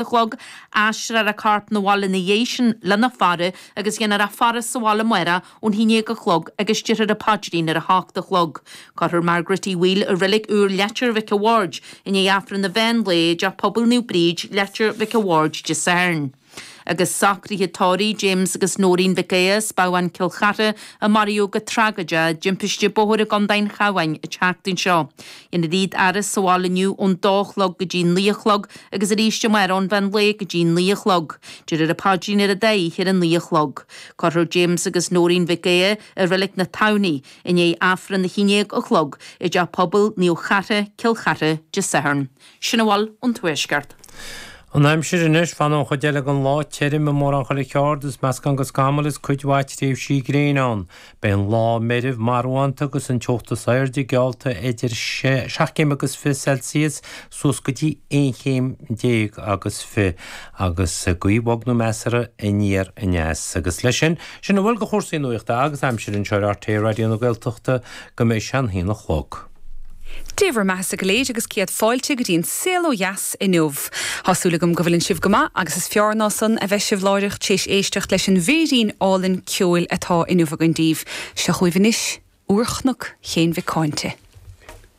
A chlog, aistreofar a corp 'na bhaile ina dhiaidh sin lena faire agus dhéanfar a faire sa bhaile amárach ón haon déag a chlog agus déarfar an paidrín ar a hocht a chlog. Cuirfear Margaret Uí Bhaoill i Reilig Úr Leitir Mhic a' Bhaird i ndiaidh Aifreann an mheán lae i dTeach Pobail Naomh Bríd, Leitir Mhic a' Bhaird Dé Sathairn. Agus socruithe tórraimh James agus Nóirín Mhic Aodha as Babhán Cill Chartha a maraíodh go tragóideach i dtimpiste bóthair i gContae an Chabháin an tseachtain seo. Dhéanfar iad a fhaire sa bhaile inniu ón dó a chlog go dtí 9 a chlog agus arís amárach ón mheán lae go dtí 9 a chlog. Déarfar an paidrín ar an dá oíche ar a 9 a chlog. Cuirfear James agus Nóirín Mhic Aodha i Reilig na Tamhnaí i ndiaidh Aifreann a haon déag a chlog i dTeach Pobail Naomh Chartha, Cill Chartha, Dé Sathairn. Sin a bhfuil ón Tuaisceart. An aimsir anois, fanfaidh an chuid eile den lá tirim i mórán chuile cheard is meascán de scamaill is cuid mhaith tréimhsí gréine ann. Beidh an lá meirbh marbhánta agus an teocht is airde geallta idir seacht gcéim agus fiche Celsius suas go dtí aon chéim déag agus fiche agus gaoth bhog nó measartha aniar aneas. Agus leis sin, sin a bhfuil de chúrsaí nuachta agus aimsire anseo ar RTÉ Raidió na Gaeltachta go mbeidh sé an haon a chlog. Dé bhur mbeathasa go léir agus céad fáilte go dtí an Saol Ó Dheas inniu. Tá súil agam go bhfuileann sibh go maith agus is fearr ná san a bheidh sibh láithreach tar éis éisteacht leis an bhféirín álainn ceoil atá inniu againn daoibh. Seo chugaibh anois, Úr Chnoc Chéin Mhic Cáinte.